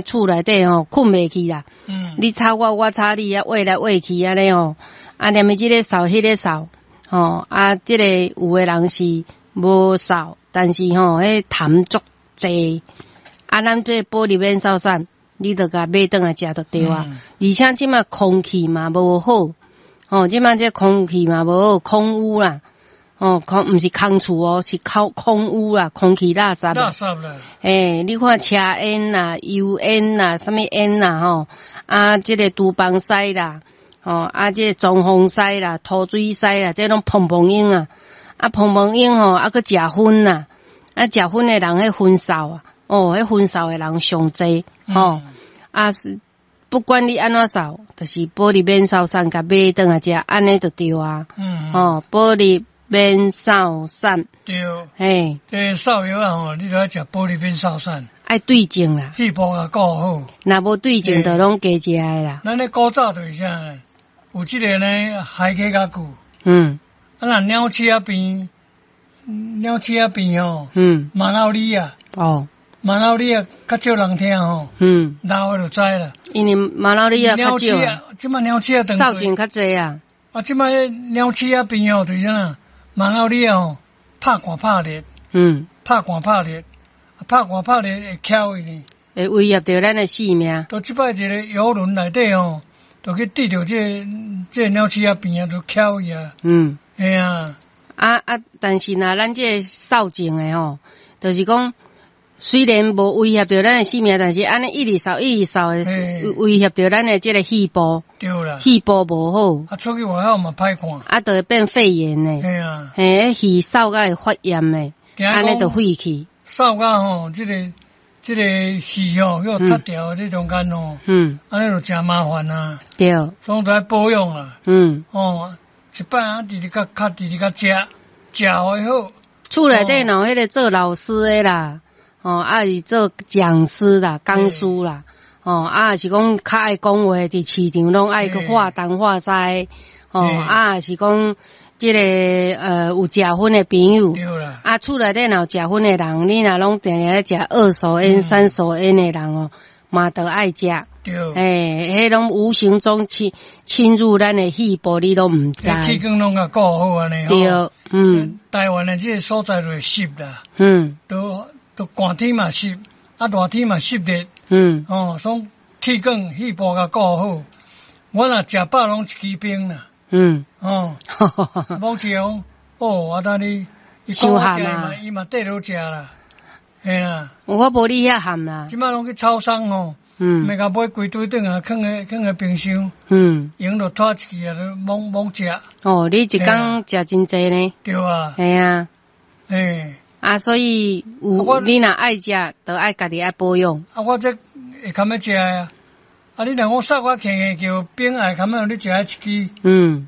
厝內底吼睏袂去啦。你吵我，我吵你啊，話來話去按呢吼，啊，連這个掃，彼个掃，吼，啊，這個有的人是無掃，但是吼，彼痰足濟，啊，咱這保利免掃散，你著共買轉來食就對啊。而且這馬空氣嘛無好，吼，這馬這空氣嘛無好，空污啦，吼，空毋是空厝哦，是空空污啦，空氣垃圾。垃圾啦。欸，你看車煙啦、油煙啦、啥物煙啦，吼，啊，這个廚房屎啦，吼，啊，這个裝潢屎啦、塗水屎啦，這攏砰砰湧啊，啊，砰砰湧吼，啊，閣食薰啦，啊，食薰的人彼薰掃啊，哦，彼薰掃的人上濟，吼，啊，不管你按怎掃，就是保利免掃散，共買轉來食，按呢就對啊。吼，保利免掃散。對。嘿。這掃藥仔吼，你著愛食保利免掃散。愛對症啦。肺部共顧好。若無對症，就攏加食的啦。咱咧古早就是啥呢？有這个呢，海溪較久。啊，若鳥鼠仔病，鳥鼠仔病吼。馬腦里啊。馬腦里啊，較少人聽吼。老的就知啦。因為馬腦里啊較少。這馬鳥鼠仔掃症較濟啊。啊，這馬鳥鼠仔病吼，就是啥？馬腦里啊吼，拍寒拍熱。拍寒拍熱，拍寒拍熱會翘伊呢。會威脅著咱的性命。就這擺一个遊輪內底吼，就去滴著這個鳥鼠仔病啊，就翹伊啊。嘿啊。啊啊！但是若咱這个掃症的吼，就是講雖然無威脅著咱的性命，但是按呢一直掃一直掃，會威脅著咱的這个肺部。對啦。肺部無好。啊，出去外口嘛歹看。啊，就會變肺炎呢。嘿啊。嘿，肺掃甲會發炎呢，按呢就肺氣。掃甲吼，這個肺吼，予塞牢這中間吼，按呢就誠麻煩啊。所以著愛保養啦。哦，一擺啊，直直較較直直較食，食予伊好。厝內底若有彼个做老師的啦，哦，啊是做講師啦、講師啦，哦，啊是講較愛講話，佇市場攏愛去畫東畫西，哦，啊是講這个有食薰的朋友，啊厝內底若有食薰的人，你若攏定定咧食二手煙、三手煙的人哦，嘛著愛食。欸，彼攏無形中侵入咱的肺部，你攏毋知。氣管攏共顧好按呢。對，台灣的這个所在就會濕啦。都寒天嘛濕，啊熱天嘛濕熱。哦，所以氣管肺部共顧好。我若食飽攏一支冰啦。哦。某次講，哦，我等你，伊講我食嘛，伊嘛綴落食啦。嘿啦。我無你遐譀啦。這馬攏去超商吼。欲共買規堆轉來，囥佇冰箱。閒就拖一支啊，就猛猛食。哦，你一工食真濟呢？對啊。嘿啊。嘿。啊，所以有你若愛食，就愛家己愛保養。啊，我這會堪欲食啊。啊，你若講掃我輕輕叫冰愛堪欲你食一支。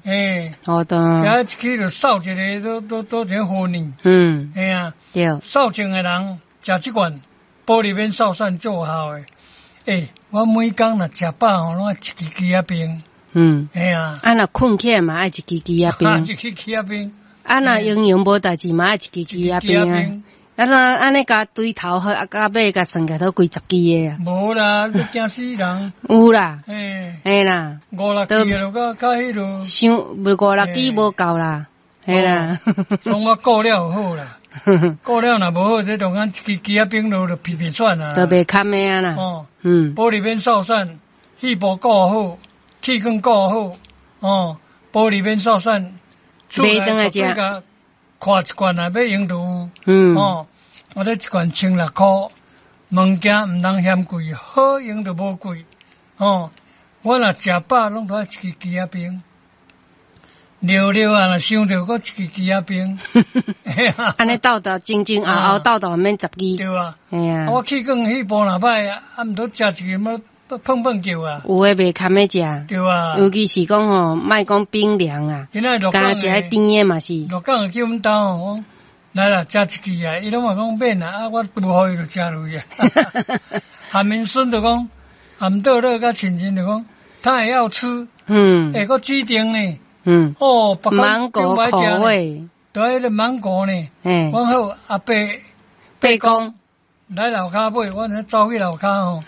嘿。好的。食一支就掃一个，都都都一個好呢。嘿啊。對。掃症的人食這罐保利免掃散做效的。欸，我每工若食飽吼，攏愛一支枝仔冰。嘿啊。啊，若睏起來嘛愛一支枝仔冰。一支枝仔冰。啊，若營養無代誌嘛愛一支枝仔冰啊。啊，若按呢共對頭好，啊，到尾共算起來都幾十支的啊。無啦，欲驚死人。有啦。嘿。嘿啦。五六支就到到彼落。傷無五六支無夠啦，嘿啦。攏我顧了就好啦。顧了若無好，這中間一支枝仔冰落就皮皮喘啊。就袂堪的啊啦。哦。保利免掃散，肺部顧好，氣管顧好，哦，保利免掃散，買轉來食。看一罐啊，欲用就有。哦，我這一罐16箍，物件毋通嫌貴，好用就無貴。哦，我若食飽，攏著愛一支枝仔冰。尿尿啊，若想著閣一支枝仔冰。按呢鬥鬥前前後後鬥鬥免十支。對啊。嘿啊。我氣管肺部若歹，啊，毋著食一支麼碰碰叫啊。有的袂堪欲食。對啊。尤其是講吼，莫講冰涼啊，敢食彼甜的嘛是。鹿港的叫阮兜講，來啦，食一支啊，伊攏嘛講免啦，啊，我拄予伊就食落去啊。韓明孫就講，含倒落佮親親就講，他也要吃。欸，閣指定呢。哦，芒果口味。對，彼个芒果呢。講好阿伯伯公來樓跤買，我走去樓跤吼，